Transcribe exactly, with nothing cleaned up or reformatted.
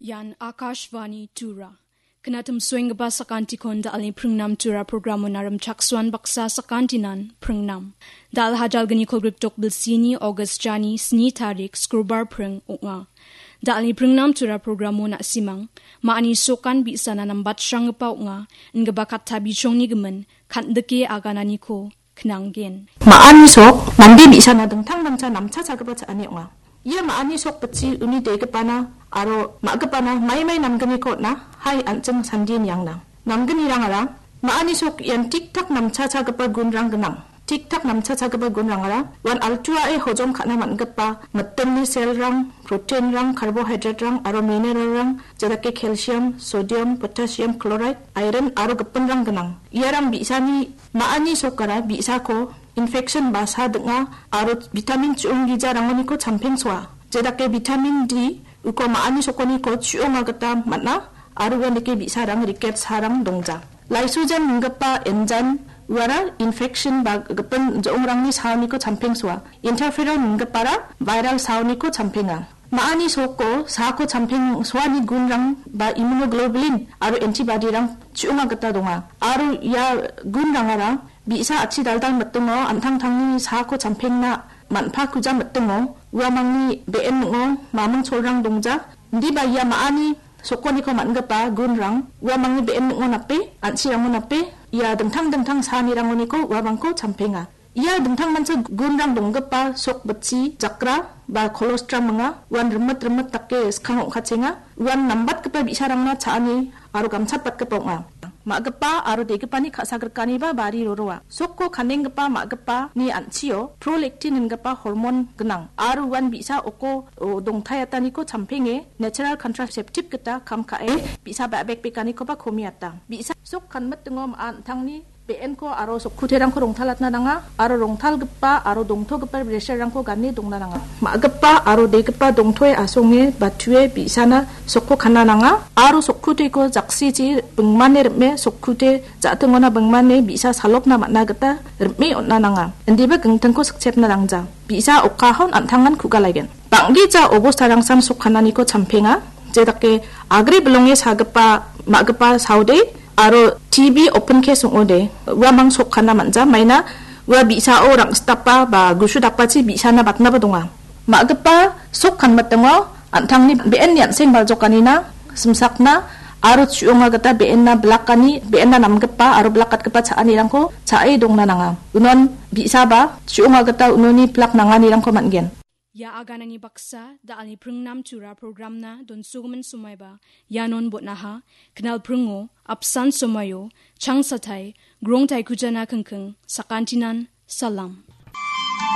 Ian Akashvani Tura. Knatim suenggipa sakantikon da·alni pringnam Tura programo narim chaksuan baksa sakantinan pringnam. Da·al hajalgni kolgrip tok bilsini August jani sni tarik skrubar pring ong·a. Da·alni pringnam Tura programo na·simang, ma·ani sokan bi·sana nambatsranggipa ong·a, ingipa katta bichongni gimin, kan·dike agananiko knanggen. Ma·ani sok mande bi·sana dingtang dingtang namcha chagipa cha·ani ong·a. Ia ma·ani sok bitchi uni degipana aro ma·gipana maimai namgniko on·a, hai an·ching sandie niangna. Namgnirangara ma·ani sok ian tik-tak namcha chagipa gunrang gnang. Tik-tak namcha chagipa gunrangara uan altuae hojom ka·na man·gipa mitimni selrang, proteinrang, carbohydraterang aro mineralrang, jedake calcium, sodium, potassium chloride, iron aro gipinrang gnang. Iarang bi·sani ma·ani sokara bi·sako infection ba sa ding·a aro vitamin chu·ong gijarangoniko champengsoa. Jedake vitamin D uko ma·ani sokoniko chu·onga gita man·a aro uandake bi·sarang riket sarang dongja. Lysozyme ninggipa enzyme uara infection ba gipin jo·ongrangni saoniko champengsoa. Interferon ninggipara viral saoniko champenga. Ma·ani soko saako champengsoani gunrang ba immunoglobulin aro antibody-rang chu·onga gita donga. Aro ia gunrangara bi·sa atchi daldal mitingo an·tangtangni saako champengna man·pakuja mitingo uamangni be·en ning·o maming cholrang dongja. Indiba ia ma·ani sokoniko man·gipa gunrang uamangni be·en ning·o nape, an·chirango nape, ia dingtang dingtang saanirangoniko uamangko champenga. Ia dingtangmancha gunrang donggipa sok bitchi jakra ba kolostram ong·a. Uan rimit rimit dake skang ong·katchenga. Uan nambatgipa bi·sarangna cha·ani aro gamchatbatgipa ong·a. Ma·gipa aro degipani ka·sagrikkaniba bari roroa. Sokko kanenggipa ma·gipani an·chio prolactin ingipa hormon gnang aro uan bi·sa oko, o, dongtaiataniko champenge natural contraceptive gita kam ka·e bi·sa ba·bekbekanikoba komiata. Bi·sa sok kanmitingo ma·a an·tangni be·enko aro sokkuterangko rongtalatna nanga aro rongtalgipa aro dongtogipa bresarangko gane dongna nanga. Ma·gipa aro degipa dongtoe asonge batue bi·sana sokko kana nanga aro sokkuteko jaksichi bingmane rim·e sokkute ja·tingona bingmane bi·sa salopna man·a gita rim·e on·na nanga. Indiba gingtingko sikchepna nangja. Bi·sa okahon an·tangan ku·galaigen. Bang·gija obostarangsan sok kananiko champenga. Jedake agre bilonge sagipa ma·gipa saode aro T B open case ong·ode uamang sok kana man·ja. Maina ua bi·sao rang·sitapa ba gusu dakbachi bi·sana batnaba donga. Ma·gipa sok kanmitingo an·tangni be·enni an·seng baljokanina simsakna aro chu·onga gita be·enna bilakani, be·enna namgipa aro bilakatgipa cha·anirangko cha·e dongna nanga. Unon bi·saba chu·onga gita unoni pilak nanganirangko man·gen. Ia aganani baksa, da·alni pringnam Tura programna donsogimin somoiba ianon botnaha, knal pringo, apsan somoio, changsatai, grongtai kujana kingking, sakantinan, salam.